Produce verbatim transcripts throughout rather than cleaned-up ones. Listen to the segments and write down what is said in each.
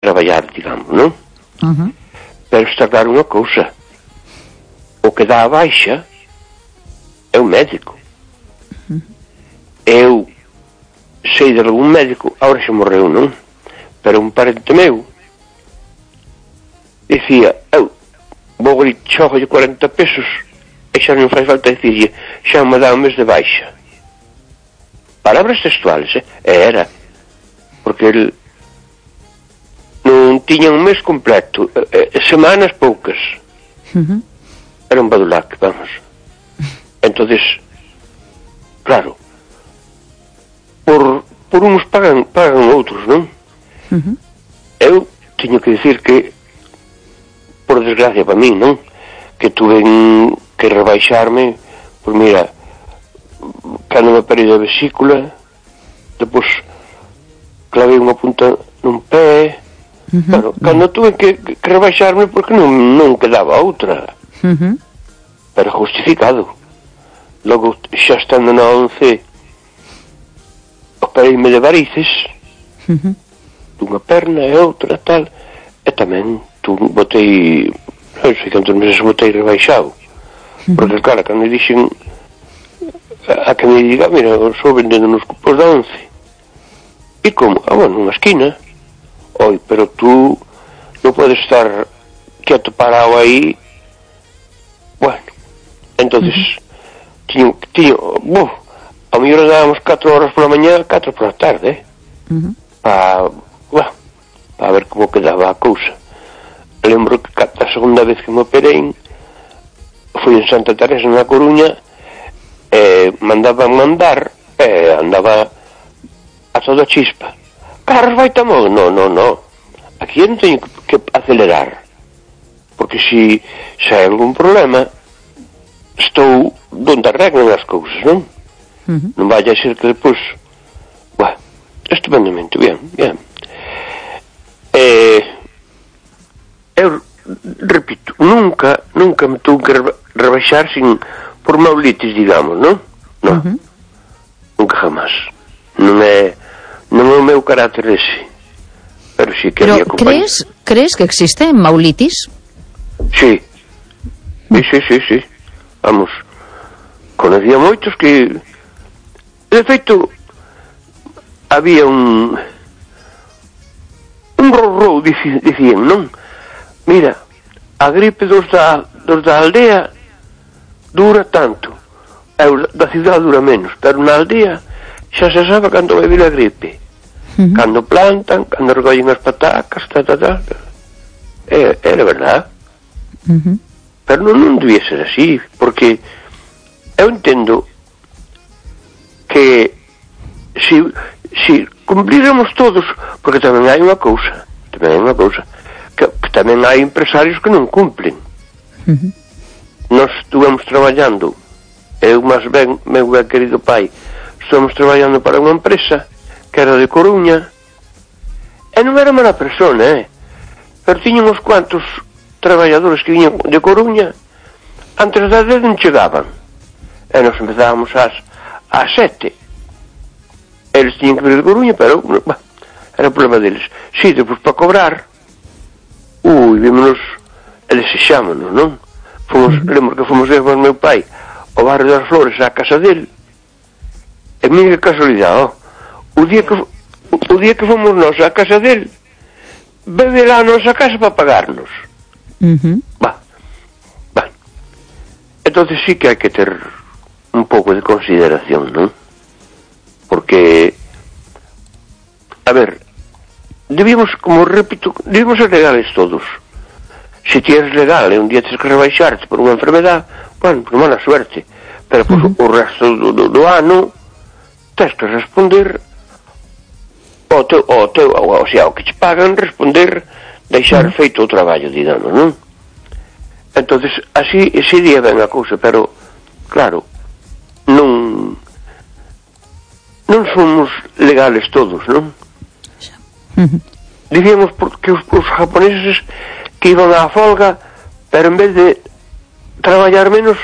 traballar, digamos, non? Uh-huh. Pero está claro unha cousa, o que dá a baixa é o médico. Uh-huh. Eu sei de algún médico, agora xa morreu, non? Pero un parente meu dicía, eu vou ali xogo de cuarenta pesos e xa non faz falta dicirlle, xa me dá un mes de baixa. Palabras textuales, eh? E era porque el non tiña un mes completo, eh, semanas poucas. Uh-huh. Era un badulac, vamos. Entonces, claro, por, por uns pagan, pagan outros, non? Uh-huh. Eu teño que dicir que, por desgracia para mí, non? Que tuve que rebaixarme, pois mira, cando me parei da vesícula, depois clavei unha punta nun pé. Uh-huh. Bueno, cando tuve que, que rebaixarme porque non, non quedaba outra. Uh-huh. Pero justificado. Logo, xa estando na once, opereime de varices, uh-huh, dunha perna e outra tal, e tamén tu botei, non sei cantos meses botei rebaixado. Uh-huh. Porque claro, cando me dixen a, a que me diga, mira, sou vendendo nos cupos da once. E como? Ah, bueno, nunha esquina. Oi, pero tú non podes estar quieto parado aí. Bueno, entonces uh-huh, tiño, tiño, buf, a mellor dábamos catro horas pola mañá, catro pola tarde, eh? Uh-huh. Pa, bueno, pa ver como quedaba a cousa. Lembro que a segunda vez que me operei fui en Santa Teresa na Coruña, e mandaban mandar, e andaba a toda chispa. Carros vai tamo, no, no, no. Aquí non teño que acelerar, porque se se hai algún problema estou donde arreglan as cousas, non? Uh-huh. Non vai a ser que depois, bueno, estupendamente, bien, bien. Eh, eu repito, nunca, nunca me tuve que rebaixar sin por maulitis, digamos, non? Non, uh-huh, nunca jamás. Non é non é o meu carácter ese, pero si que pero crees, crees que existe maulitis? Sí, sí, sí, sí, sí. Vamos, conocía moitos que, de feito, había un un rorrou, dicían, non? Mira, a gripe dos da, dos da aldea dura tanto, a da cidade dura menos, pero na aldea xa se sabe cando vai vir a gripe. Uh-huh. Cando plantan, cando recollen as patacas, ta, ta, ta. É, era verdad. Uh-huh. Pero non, non debía ser así, porque eu entendo que si, si cumplíramos todos, porque tamén hai unha cousa, tamén hai unha cousa, que, que tamén hai empresarios que non cumplen. Uh-huh. Nós estuvemos traballando, eu máis ben, meu ben querido pai, estamos traballando para unha empresa que era de Coruña, e non era mala persona, eh? Pero tiña uns cuantos traballadores que viñan de Coruña, antes das dez non chegaban, e nos empezábamos ás, ás sete. Eles tiñan que vir de Coruña, pero bah, era o problema deles. Si, depois para cobrar, ui, vímonos e desexámonos, non? Fomos, lembro que fomos ver con meu pai ao barrio das Flores, á casa dele. E mira que casualidade, oh, o día que o día que fomos nós á casa dele, bebe lá a nosa casa para pagarnos. Uh-huh. Va, va. Entonces sí que hai que ter un pouco de consideración, non? Porque, a ver, debíamos, como repito, debíamos ser legales todos. Se ti eres legal e un día tens que rebaixarte por unha enfermedad, bueno, por mala suerte, pero pues, uh-huh, o resto do, do, do ano tens que responder o teu, o teu, o, o sea, o que te pagan, responder, deixar uh-huh feito o traballo, digamos, non? Entonces, así, ese día ven a cousa, pero, claro, non non somos legales todos, non? Uh-huh. Dicíamos que os, os japoneses que iban á folga, pero en vez de traballar menos,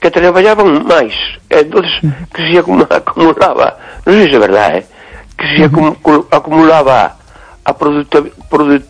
que traballaban máis, entonces que se acumulaba, non sei se é verdade, eh? Que se acum, acumulaba a product, product,